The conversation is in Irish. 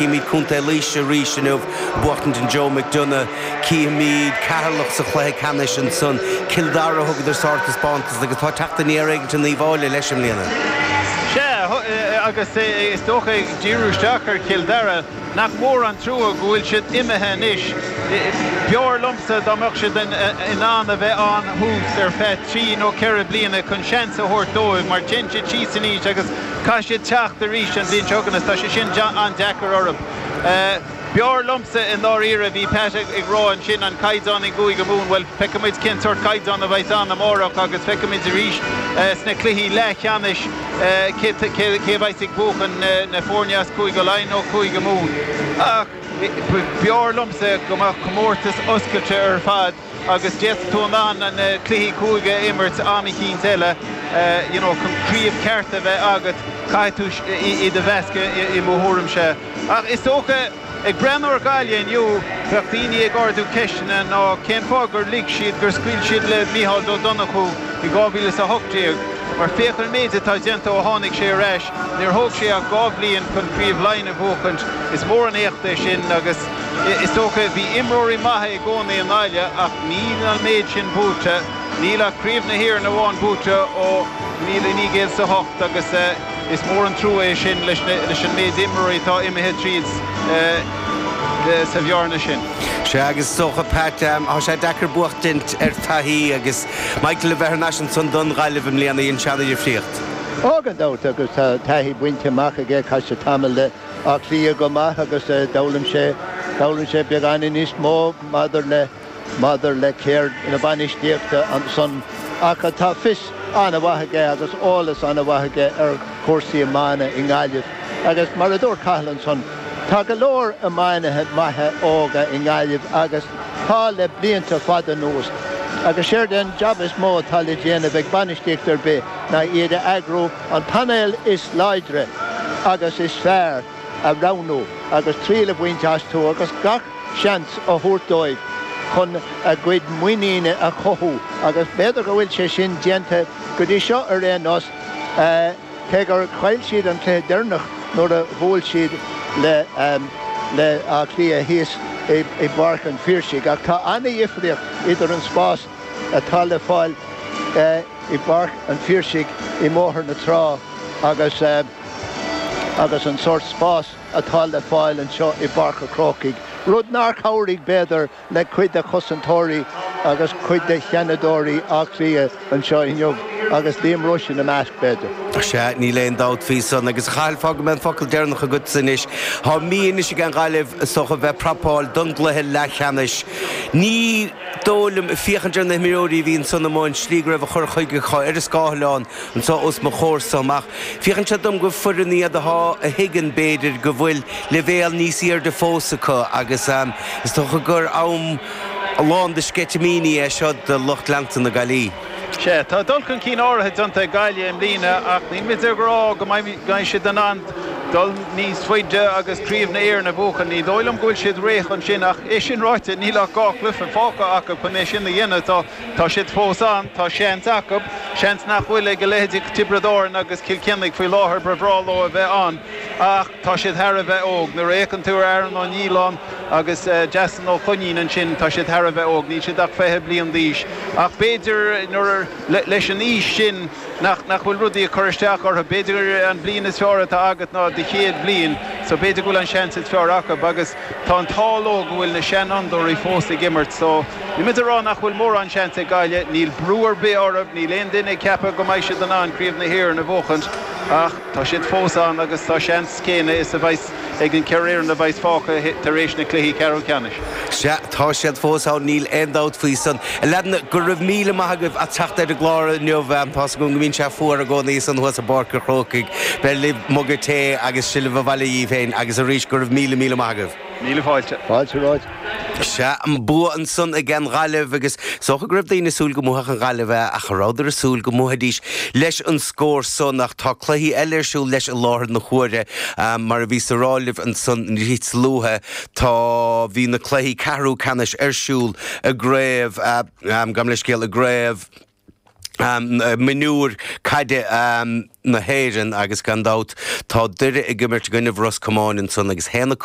Címid Contae Laoise arís inniu ag buachtaint an Joe McDonagh. Cífimid Ceatharlach sa chluiche ceannais ansan. Cill Dara, thugadar sártaispeántas agus tá teacht aniar éigint in Uíbh Fhailí leis i mbliana. Sea, agus is dócha ag díriú isteach ar Chill Dara, nach mór an trua go bhfuil siad imithe anois. B'fhearr liomsa dá mbeadh siad in ann a bheith ann thuas ar feadh trí nó ceithre bliana chun seans a thabhairt dóibh mar téann siad síos in aois agus Caithfidh siad teacht arís an bhliain seo chugainn agus tá sé sin an-deacair orthu. B'fhearr liomsa i ndáiríre, bhí Pat ag rá ansin, an caighdeán i gCúige Mumhan, bhuel, feicfidh muid cén sórt caighdeán a bheas ann amárach agus feicfidh muid arís sna cluichí leathcheannais cé a bheas ag buachan, na foirne as Cúige Laighean nó Cúige Mumhan. Ach b'fhearr liomsa go mbeadh comórtas oscailte ar fad. agus d'fhéadfadh tú in ann na cluichí cúige a imirt am eicínt eile, you know, chun craobh ceart a bheith agat, caithfidh tú iad a mheascadh i mo thuairimse. Ach is dócha, ag breathnú ar Ghaillimh inniu, bheadh daoine ag ardú ceisteanna ná cén fáth gur lig siad, gur scaoil siad le Micheál Ó Donnchú i 2018, mar féach an méid atá déanta ó tháinig sé ar ais, níor thóg sé ach dhá bhliain chun Craobh Laighean a bhuachaint, is mór an éacht é sin agus. Is dócha, bhí imreoirí maithe i gcónaí i nGaillimh ach níl an méid sin buaite. Níl ach Craobh na hÉireann amháin buaite ó 1908 agus is mór an trua é sin leis an méid imreoirí atá imithe tríd sa bhearna sin. Sea, agus is dócha, Pat, tá sé deacair buachtaint ar taithí agus Michael a bheith thar n-ais ansan don Ghaillimh i mbliana, dhein sé ana-dhifríocht. Ó, gan dabht, agus tá taithí bainte amach aige, chaith sé tamall le Áth Cliath go maith agus d'fhoghlaim sé, d'fhoghlaim sé beagáinín níos mó maidir le, maidir le ceird na bainistíochta ansan. Ach tá fios an-mhaith aige agus eolas an-mhaith aige ar chúrsaí iomána i nGaillimh. Agus mar a dúirt Cathal ansan, tá go leor iománaithe maithe óga i nGaillimh agus tá le blianta fada anuas. Agus séard é an jab is mó atá le déanamh ag bainistíocht ar bith ná iad a eagrú, an painéal is láidre agus is fearr a roghnú agus triail a bhaint astu agus gach seans a thabhairt dóibh chun a gcuid muiníne a chothú agus b'fhéidir go bhfuil sé sin déanta go dtí seo ar aon nós, cé gur chaill siad an cluiche deireanach nuair a bhuail siad le le Áth Cliath thíos i bPáirc an Phiarsaigh ach tá ana-dhifríocht idir an spás atá le fáil i bPáirc an Phiarsaigh i mBóthar na Trá agus agus an sórt spás atá le fáil anseo i bPáirc an Chrócaigh, rud nár chabhraigh, b'fhéidir, le cuid de chosantóirí agus cuid de sheanadóirí Átha Cliath anseo inniu, agus Liam Rushe ina measc, b'fhéidir. Sea, níl aon dabht faoi san. Agus a Chathail, fágfaidh mé an focal deireanach agatsa anois. Tá mí anois ag an Ghaillimh, is dócha, bheith ag prapáil don gcluiche leathcheannais. Ní. dóigh liom, féachaint ar na himreoirí a bhí ansan amuigh, an slí go raibh a chur chuige acu ar an scáileán anso os mo chomhairsa amach. Féachann sé dom gur foireann iad atá, a thuigeann, b'fhéidir, go bhfuil leibhéal níos airde fós acu agus is dócha gur am lán de sceitimíní é seo do lucht leanta na Gaillí. Sea, tá dul chun cinn áirithe déanta ag Gaillimh i mbliana ach níl muid ag rá go mbeidh siad in ann dul níos faide agus Craobh na hÉireann a bhuachan. Ní dóigh liom go bhfuil siad réidh chun sin ach é sin ráite, níl ach 2 chluiche fágtha acu chun é sin a dhéanamh so tá siad fós ann, tá seans acu, seans nach bhfuil ag a leithéidí Tiobraid Árann agus Cill Chainnigh faoi láthair, ba bhreá leo a bheith ann ach tá siad thar a bheith óg. Nuair a fhéachann tú ar Aaron Ó Nialláin agus Jason Ó Coinín ansin, tá siad thar a bheith óg, níl siad ach 20 bliain d'aois ach b'fhéidir nuair, leis an aois sin, nach bhfuil rudaí ag cur isteach orthu. B'fhéidir an bhliain is fearr atá agat ná do chéad bhliain so b'fhéidir go bhfuil an seans is fearr acu agus tá an t-ádh leo go bhfuil na seanfhondúirí fós ag imirt so níl muid ag rá nach bhfuil mórán seans ag Gaillimh, níl brú ar bith orthu, níl aon duine ag ceapadh go mbeidh siad in ann Craobh na hÉireann a bhuachaint ach tá siad fós ann agus tá seans céanna is a bheas ag an cheithre fhoireann a bheas fágtha tar éis na cluichí ceathrú ceannais. Sea, tá siad fós ann, níl aon dabht faoi san. A leaideanna, go raibh míle maith agaibh as teacht ar an gclár inniu. Tá's agam go mbíonn sé fuar i gcónaí ansan thuas i bPáirc an Chrócaigh. Beir libh muga tae agus sibh abhaile dhíbh féin agus arís go raibh míle míle maith agaibh. Míle fáilte. Fáilte romhat. Sea, an bua ansan ag an Ghaillimh agus is dócha go raibh daoine ag súil go mbuafadh an Ghaillimh é ach cha rabhadar ag súil go mbuafaidís leis an scór san ach tá cluichí eile ar siúl leis i láthair na huaire. Mar a bhíos a rá libh ansan níos luaithe tá, bhí na cluichí ceathrú ceannais ar siúl i gcraobh, gabh mo leithscéal, i gcraobh. Mionúir Caide na hÉireann agus gan dabht tá Doire ag imirt i gcoinnibh Ros Comáin ansan agus 1-5.